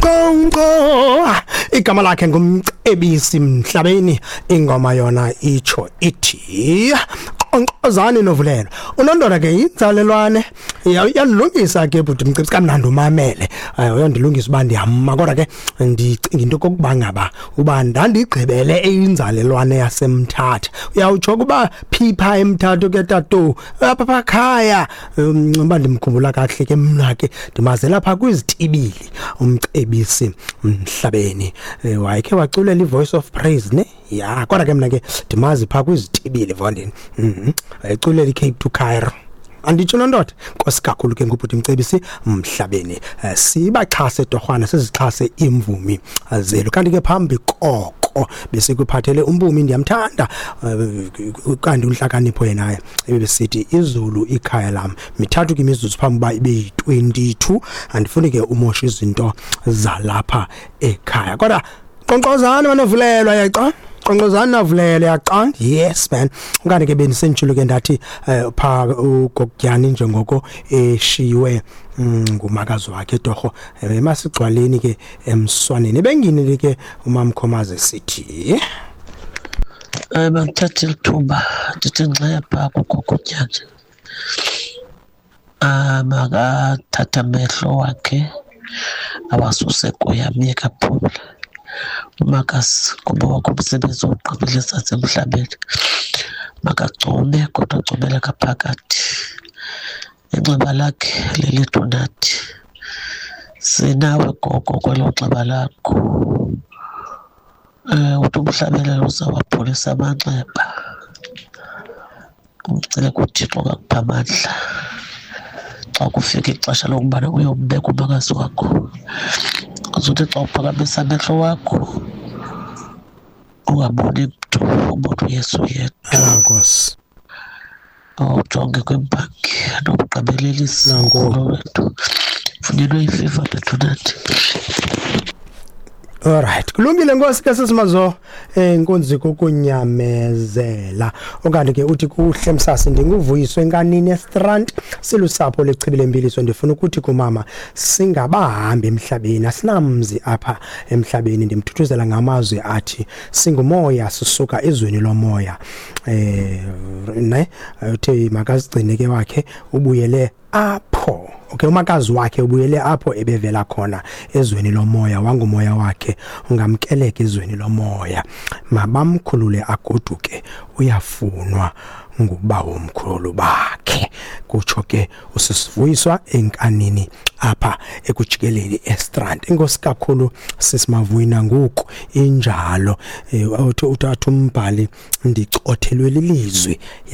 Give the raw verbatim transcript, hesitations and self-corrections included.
Nqo nqo. Igama lakhe nguMcebisi Mhlabeni, ingoma yona itsho ithi "Qonkqozani Novulelo". Unondoda ke yinzalelwane, uyandilungisa ke bhuti Mcebisi, kamnandi umamele. Uyandilungisa uba ndiyama, kodwa ke ndicinga into okokuba ngaba uba ndandigqibele eyinzalelwane yaseMthatha. Uyawutsho ukuba phipha eMthatha ke tatu, apha phakhaya. Uba ndimkhumbula kakuhle ke mna ke ndimazela phaa kwizitibili uMcebisi Mhlabeni. Wayekhe waculela iVoice of Praise ne? Ya, kodwa ke mna ke ndimazi phaa kwizitibili vondini. Mhm. Wayeculela iCape to Cairo. Anditsho nondoda, nkosi kakhulu ke ngubhuti Mcebisi Mhlabeni. Sibaxhase torhwana, sizixhase iimvumi zelu. Kanti ke phambi koko besikuphathele uMpumi, ndiyamthanda, kanti uNhlakanipho yena ebesithi "Izulu ikhaya lam". Mithathu ke imizuzu phambi uba ibe yi-twenty-two. Andifuni ke umosha izinto zalapha ekhaya, kodwa qonkqozani banovulelwa, yaxa qonkqozani navulelwa, yaxa. Yes man, okanye ke bendisenditshilo ke ndathi um phaa uGokutyani njengoko eshiywe ngumakazi wakhe torho, emasigcwaleni ke emswaneni ebenginile ke uMamkhomazi sithi. Um mandithathe eli thuba ndithi ngxe phaa kuGogotyane. Um makathathe amehlo wakhe awasuse kuye, amyeke aphumle umakazi ngoba wakho umsebenzi uwugqibile ezantsi emhlabeni. Makagcume kodwa agcumele ngaphakathi. Inxeba lakhe lelethu nathi. Sinawe gogo kwelo nxeba lakho. Um uthi umhlabelelo uzawapholisa amanxeba. Umcele kuThixo akakuphe amandla xa kufika ixesha lokubana uyombeka umakazi wakho. Uzothi xa uphakamisa amehlo wakho ungaboni mntu, ubone uYesu yedwa. Ah, Nkosi. Ujonge kwimbangi nomgqibelelisi Nanko. wokholo wethu. Funyenwe ifiva bethu nathi. Alright, kulungile nkosi ke sisimazo, enkonzi kokunyamezela. Okanye ke uthi kuhle msasi, ndinguvuyiswe enkanini eStrand, silusapho lechibi lempiliso. Ndifuna ukuthi kumama singabahambi emhlabeni, asinamzi apha emhlabeni. Ndimthuthuzela ngamazwi athi singumoya sisuka ezweni lomoya. Eh ne uthi makazigcine ke wakhe ubuyele apho. Okay, umakazi wakhe ubuyele apho ebevela khona ezweni lomoya, wangumoya wakhe ungamkeleka ezweni lomoya. Mabamkhulule agoduke, uyafunwa ngubawo omkhulu bakhe. Kutsho ke usisivuyiswa enkanini apha ekujikeleni eStrand. Inkosi kakhulu sisimavuyina ngoku injalo. Uthi uthatha umbhali ndicothelwe lilizwi.